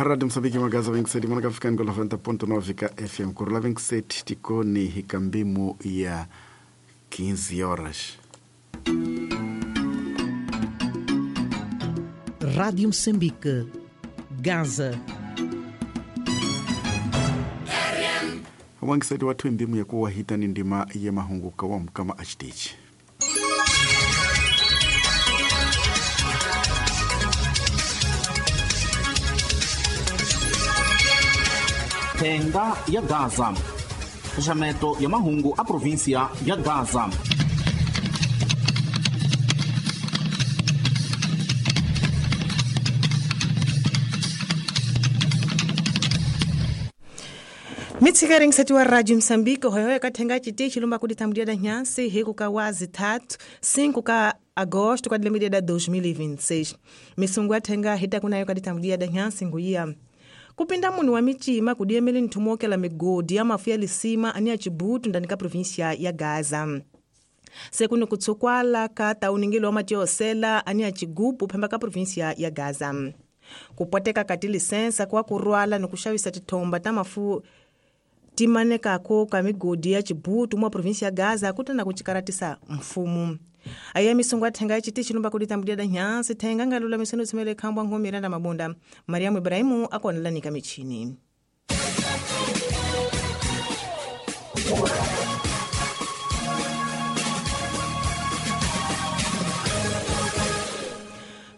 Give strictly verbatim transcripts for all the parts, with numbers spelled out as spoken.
Rádio Moçambique Magaza vinte e sete manaka ficando noventa ponto nove ka F M Kurula vinte e sete tikoni hikambimo ya quinze horas. Rádio Moçambique, Gaza. Wangisati watu ndimu ya kuwa hitani ndima ya mahunguka wa mkama achitichi. Thenga ya Gaza. Xaxameto ya mahungu a província ya Gaza. Mitsikering sati wa Radio Moçambique hoyo ka thenga chitichi lumba kuditambudia da nyansi hiku ka wazi tatu cinco ka agosto ka dilembe da dois mil e vinte e seis. Misungu athenga hita kunayo ka ditambudia da nyansi nguia. Kupinda munhu wa michima kudiemele nthumokela migodi ya mafu ya lisima ani ya Chibutu ndani ka província ya Gaza. Sekuno kutsukwala ka tauningelo wa matiosela ani ya Chigupu phemba ka província ya Gaza. Kupoteka ka tilisensa kwa kurwala nokuxavisa tithomba ta mafu timanekako ka migodi ya Chibutu mwa província ya Gaza kutana kuchikaratisa mfumo. Aya misungu athenga chitichi lumba kuditambudia da nyansi thenga ngalula misono tsimele khambwa ngomira na mabunda. Mariamu Ibrahimu akonelanika michini.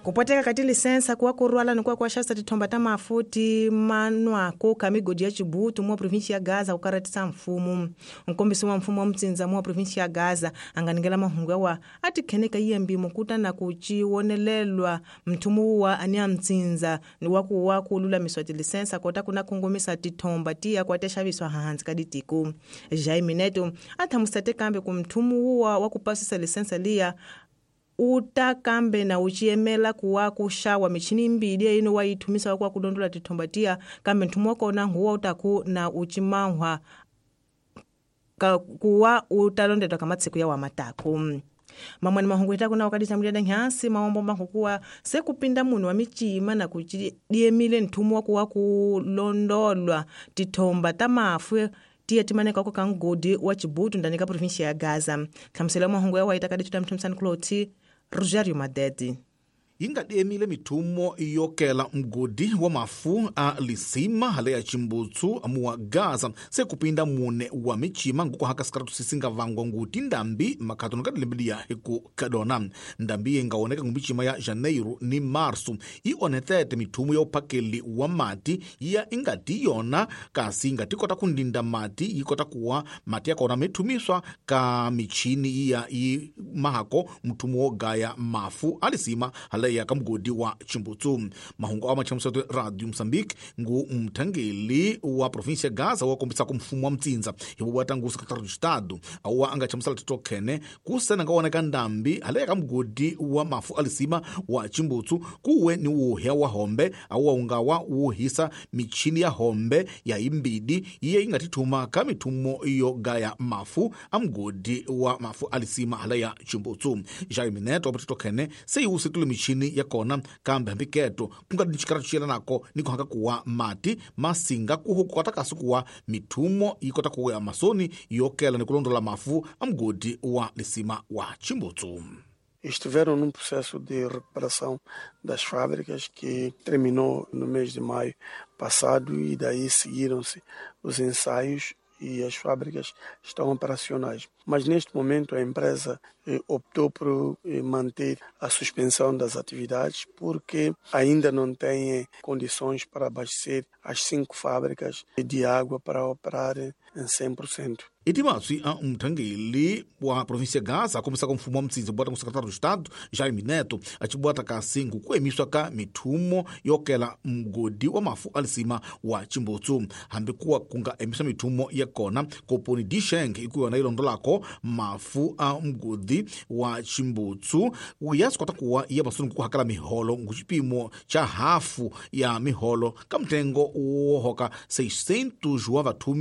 Kupoteka kati lisensa kwa kurwala nikuwa kwa shasta tithomba ta mafuti manwako ka migodi ya Chibutu mwa província ya Gaza kukaratisa mfumo. Nkombisi wa mfumo wa mtsinza mwa província ya Gaza anganingela mahungu yawa atikheneka iye mbimo kutana kuchiwonelelwa mthumu wa ani ya mtsinza waku wa kululamiswa tilisensa kota kuna kongomisa tithomba tiya kwatexaviswa hansi ka ditiko. Jaime Neto athamusate kambe ku mthumu wa wa kupasisa lisensa liya uta kambe na uchiemela kuwa kushawa michini mbili ino waithumisa kwa kulondola tithombatia kambe nthumu wakona nguwa utaku na uchimahwa ka kuwa utalondedwa kamatsiku ya wamatako. Mamwani mahungu itaku na wakaditambulia da nyansi maombo mahukuwa sekupinda munhu wa michima na kuchidiemile nthumu wakuwa kulondolwa tithomba ta mafu tiya timaneka kwa kangodi wa Chibutu ndani ka província ya Gaza. Khamusela mahungu ya waita kadichuta mthumsani Kloti Rogerio Madedi. Ingadiemile mithumo yokela mgodi wa mafu a lisima hale ya Chimbutsu amuwa Gaza sekupinda mune wa michima nguko haka sikaratu sisinga vangwa nguti ndambi makhato nokadilembelia hiku kadona. Ndambi ingaoneka ngumichima ya Janeiro ni Marso ionetete mithumo ya uphakeli wa mati ya ingati yona kasi ingati kota kundinda mati yikota kuwa mati yakona mithumiswa ka michini ya i mahako mthumo wogaya mafu alisima hale ya kamgodi wa Chimbutsu. Mahungu awa machamusato Radio Moçambique ngu mthangeli wa província Gaza wa kombisa ku mfumo wa mtsinza hivo bwata ngu secretário de Estado awa anga chamusala titokhene kusena ngaoneka ndambi hale ya kamgodi wa mafu alisima wa Chimbutsu kuwe ni wuhya wa hombe awa ungawa wuhisa michini ya hombe ya imbidi iye ingatithuma ka mithumo iyo gaya mafu amgodi wa mafu alisima hale ya Chimbutsu. Jaime Neto apatitokhene seyiwusitule michini ya kona kambe hambiketo kungadi nchikaratu chiyela nako niko haka kuwa mati masinga kuhu kukota kasi kuwa mithumo ikota kuwa masoni yokela nikulondola mafu amgodi wa lisima wa Chimbutsu. Estiveram num processo de recuperação das fábricas que terminou no mês de maio passado e daí seguiram-se os ensaios e as fábricas estão operacionais. Mas neste momento a empresa eh, optou por eh, manter a suspensão das atividades porque ainda não tem condições para abastecer as cinco fábricas de água para operar em cem por cento. Itimatswi a mthangeli wa província Gaza akombisa ka mfumo wa mtsinza bwata ku secretário de Estado Jaime Neto achibwata kasi nkukuemiswa ka mithumo yokela mgodi wa mafu alisima wa Chimbutsu. Hambi kuwa kunga emisa mithumo ya kona koponi Disheng ikuwa ilondolako mafu a mgodi wa Chimbutsu uyasikwata kuwa iya masuni kuhakala miholo nguchipimo cha hafu ya miholo ka mtengo wohoka seiscentos wa vathumi